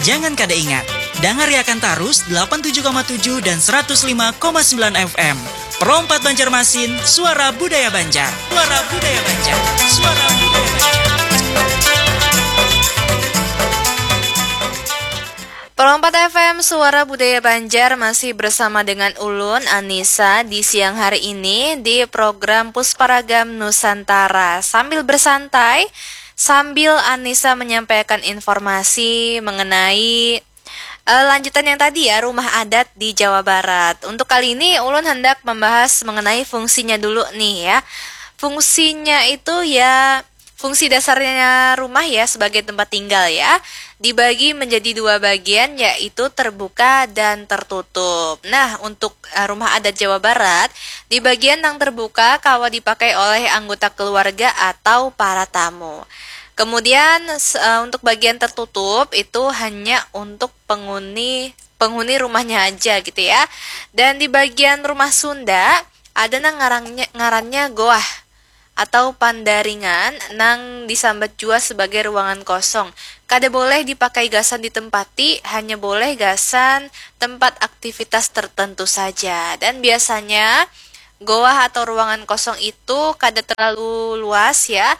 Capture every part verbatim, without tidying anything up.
Jangan kada ingat, dangariakan tarus delapan tujuh koma tujuh dan seratus lima koma sembilan F M. Pro empat Banjarmasin, suara budaya Banjar. Suara budaya Banjar. Suara budaya Banjar. Pro empat F M, suara budaya Banjar, masih bersama dengan ulun, Anissa, di siang hari ini di program Pusparagam Nusantara. Sambil bersantai, sambil Anissa menyampaikan informasi mengenai, eh, lanjutan yang tadi ya, rumah adat di Jawa Barat. Untuk kali ini, ulun hendak membahas mengenai fungsinya dulu nih ya. Fungsinya itu ya, fungsi dasarnya rumah ya sebagai tempat tinggal ya, dibagi menjadi dua bagian, yaitu terbuka dan tertutup. Nah, untuk, eh, rumah adat Jawa Barat, di bagian yang terbuka kawa dipakai oleh anggota keluarga atau para tamu. Kemudian, s-, eh, untuk bagian tertutup itu hanya untuk penghuni, penghuni rumahnya aja gitu ya. Dan di bagian rumah Sunda, ada nang ngarannya, ngarannya goah atau pandaringan nang disambat jua sebagai ruangan kosong. Kada boleh dipakai gasan ditempati, hanya boleh gasan tempat aktivitas tertentu saja. Dan biasanya, goah atau ruangan kosong itu kada terlalu luas ya.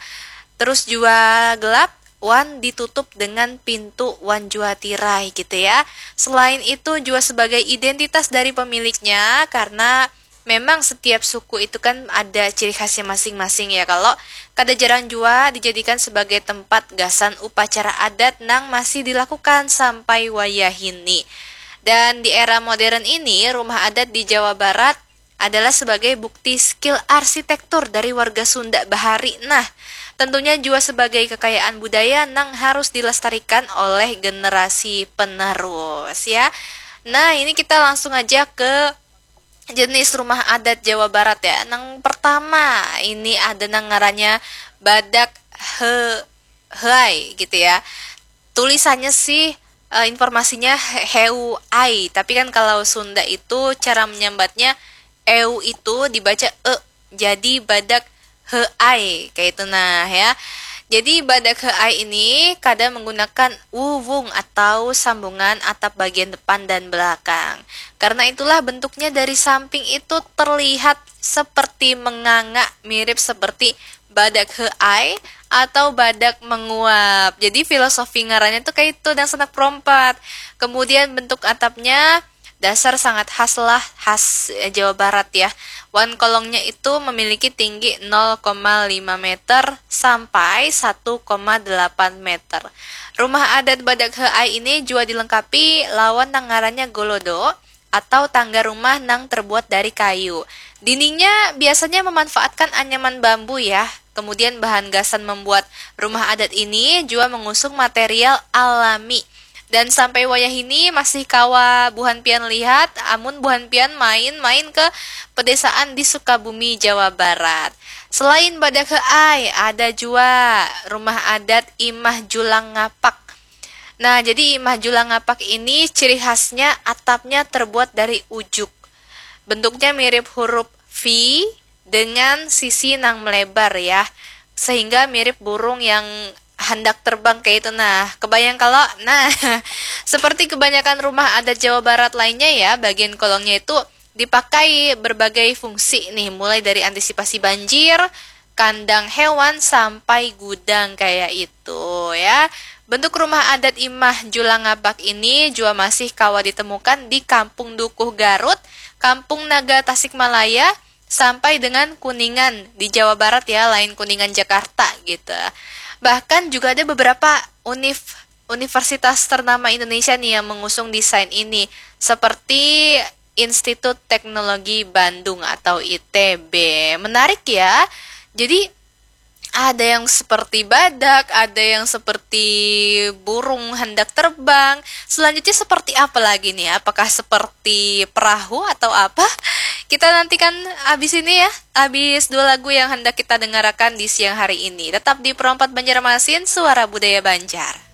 Terus jua gelap, wan ditutup dengan pintu wan jua tirai gitu ya. Selain itu jua sebagai identitas dari pemiliknya, karena memang setiap suku itu kan ada ciri khasnya masing-masing ya. Kalau kada jarang jua dijadikan sebagai tempat gasan upacara adat nang masih dilakukan sampai wayahini. Dan di era modern ini, rumah adat di Jawa Barat adalah sebagai bukti skill arsitektur dari warga Sunda bahari. Nah, tentunya jua sebagai kekayaan budaya nang harus dilestarikan oleh generasi penerus ya. Nah, ini kita langsung aja ke jenis rumah adat Jawa Barat ya. Nang pertama, ini ada nang ngarannya badak he-, heai gitu ya. Tulisannya sih, eh, informasinya he-, heu ai, tapi kan kalau Sunda itu cara menyambatnya eu itu dibaca e, jadi badak heai, kayak itu nah ya. Jadi badak heai ini kada menggunakan wuwung atau sambungan atap bagian depan dan belakang. Karena itulah bentuknya dari samping itu terlihat seperti menganga, mirip seperti badak heai atau badak menguap. Jadi filosofi ngarannya tuh kayak itu, dangsanak Pro empat. Kemudian bentuk atapnya dasar sangat khas lah, khas, eh, Jawa Barat ya. Wan kolongnya itu memiliki tinggi nol koma lima meter sampai satu koma delapan meter. Rumah adat badak heai ini jua dilengkapi lawan nang ngarannya golodo atau tangga rumah nang terbuat dari kayu. Dindingnya biasanya memanfaatkan anyaman bambu ya. Kemudian bahan gasan membuat rumah adat ini jua mengusung material alami. Dan sampai wayahini masih kawa buhan pian lihat, amun buhan pian main-main ke pedesaan di Sukabumi, Jawa Barat. Selain badak heai, ada jua rumah adat Imah Julang Ngapak. Nah, jadi Imah Julang Ngapak ini ciri khasnya atapnya terbuat dari ujuk. Bentuknya mirip huruf V dengan sisi nang melebar ya, sehingga mirip burung yang hendak terbang kayak itu. Nah, kebayang kalau, nah, seperti kebanyakan rumah adat Jawa Barat lainnya ya, bagian kolongnya itu dipakai berbagai fungsi nih, mulai dari antisipasi banjir, kandang hewan, sampai gudang kayak itu ya. Bentuk rumah adat Imah Julang Ngapak ini jua masih kawa ditemukan di Kampung Dukuh Garut, Kampung Naga Tasikmalaya, sampai dengan Kuningan di Jawa Barat ya, lain Kuningan Jakarta gitu. Bahkan juga ada beberapa univ-, universitas ternama Indonesia nih yang mengusung desain ini, seperti Institut Teknologi Bandung atau I T B. Menarik ya. Jadi ada yang seperti badak, ada yang seperti burung hendak terbang. Selanjutnya seperti apa lagi nih? Apakah seperti perahu atau apa? Kita nantikan abis ini ya, abis dua lagu yang hendak kita dengarkan di siang hari ini. Tetap di Pro empat Banjarmasin, Suara Budaya Banjar.